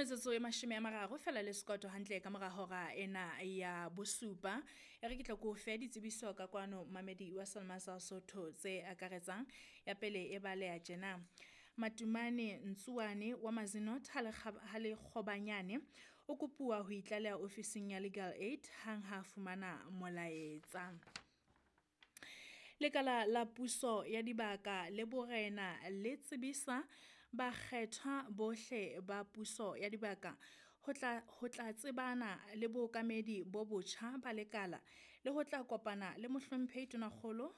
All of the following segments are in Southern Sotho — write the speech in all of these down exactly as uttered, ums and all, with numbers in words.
Metsotso e mashome a mararo fela le sekoto hantle ka mora hora ena ya bosupa. E re ke tla ko fe ditsebiso ka kwano mamedi wa Salma sa Sotho tse akaretsang. Ya pele e baleha tjena. Matumane Ntsuane wa Mazenod ha Lekgobanyane o kopuwa ho itlaleha ofising ya Legal Aid hang ha fumana molaetsa. Lekala la puso ya dibaka le borena le tsebisa bakgethwa bohle ba puso ya dibaka ho tla ho tla tsebana le bookamedi bo botjha ba lekala le ho tla kopana le Mohlomphehi Tonakgolo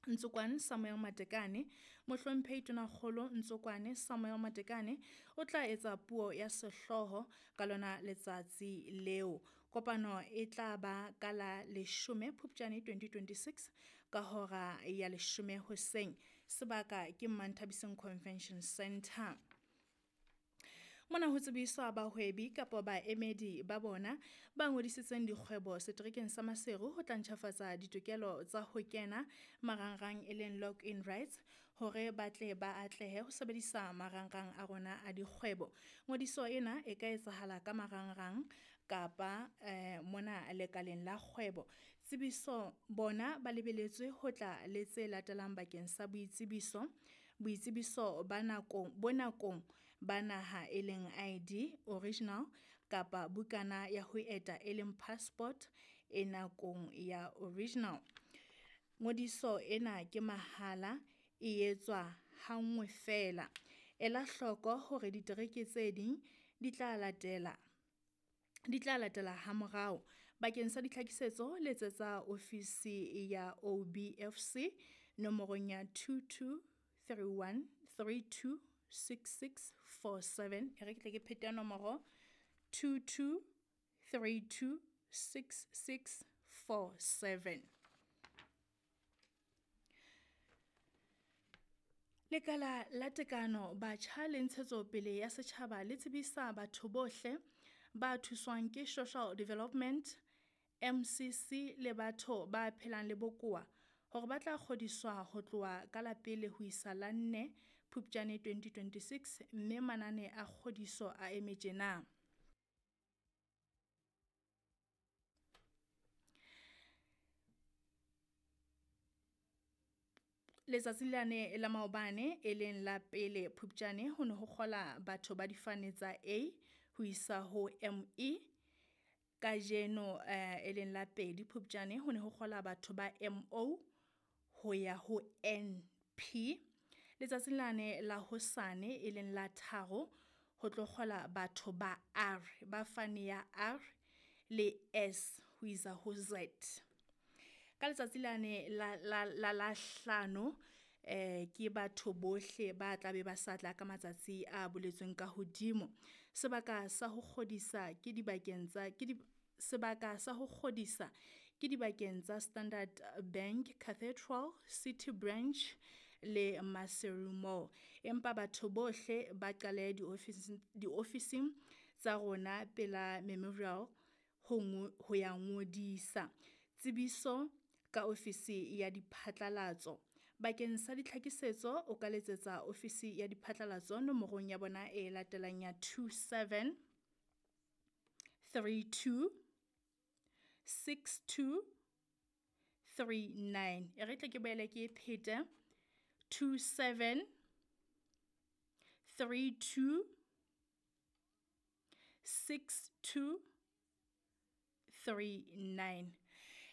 Ntsokoane Samuel Matekane. Mohlomphehi Tonakgolo Ntsokoane Samuel Matekane o tla etsa puo ya sehlooho ka lona letsatsi leo. Kopano e tla ba ka la leshome Phupjane twenty twenty-six ka hora ya leshome hoseng. Sebaka ke Manthabiseng Convention Center. Mona ho tsebiswa bahwebi kapa baemedi ba bona ba ngodisitseng dikgwebo seterekeng sa Maseru ho tla ntjhafatsa ditokelo tsa ho kena marangrang e leng login rights hore ba tle ba atlehe ho sebedisa marangrang a rona a dikgwebo. Ngodiso ena e ka etsahala ka marangrang kapa eh, mona lekaleng la kgwebo. Tsebiso bona ba lebeletswe ho tla le tse latelang bakeng sa boitsebiso. Boitsebiso ba nakong bo nakong ba naha e leng I D original kapa bukana ya ho eta e leng passport e nakong ya original. Ngodiso ena ke mahala, e etswa hanngwe fela. Ela hloko hore ditereke tse ding di tla latela di tla latela hamorao. Bakeng sa ditlhakisetso letsetsa ofisi ya O B F C nomorong ya two two three one three two six six four seven. E re ke tle ke phete nomoro two two three two six six four seven. Lekala la tekano batjha le ntshetsopele ya setjhaba le tsebisa batho bohle ba thuswang ke Social Development M C C le batho ba phelang le bokowa hore ba tla kgodiswa ho tloha ka la pele ho isa la nne Phupjane twenty twenty-six mme manane a kgodiso a eme tjena. Letsatsi lane la maobane e leng la pele Phupjane ho ne ho kgola batho ba difane tsa A ho isa ho M E. Kajeno eh, e leng la pedi Phupjane ho ne ho kgola batho ba M O ho ya ho N P. Letsatsi lane la hosane e leng la tharo ho tlo kgola batho ba R, ba fane ya R le S ho isa ho Z. Ka letsatsi lane la la la la hlano eh ke batho bohle ba tla be ba sa tla ka matsatsi a boletsweng ka hodimo. Sebaka sa ho kgodisa ke dibakeng tsa ke di sebaka sa ho kgodisa ke dibakeng tsa Standard Bank Cathedral, City Branch le Maseru Mall. Empa batho bohle ba qale diofising diofising tsa rona pela Memorial ho ho ya ngodisa. Tsebiso ka ofisi ya diphatlalatso. Bakeng sa ditlhakisetso o ka letsetsa ofisi ya diphatlalatso nomorong ya bona e latelang ya two seven three two six two three nine. E re tle ke boele ke e phete two seven three two six two three nine.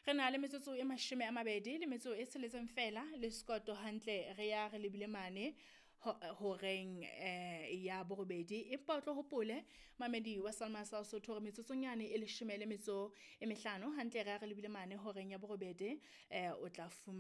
Re na le metsotso e mashome a mabedi le metso e tsheletseng fela le sekoto hantle re ya re lebile mane horeng eh ya borobedi. Empa o tlo hopole mamedi wa Salma sa Sotho hore metsotsonyane e leshome le metso e mehlano hantle re ya re lebile mane horeng ya borobedi eh o tla fumana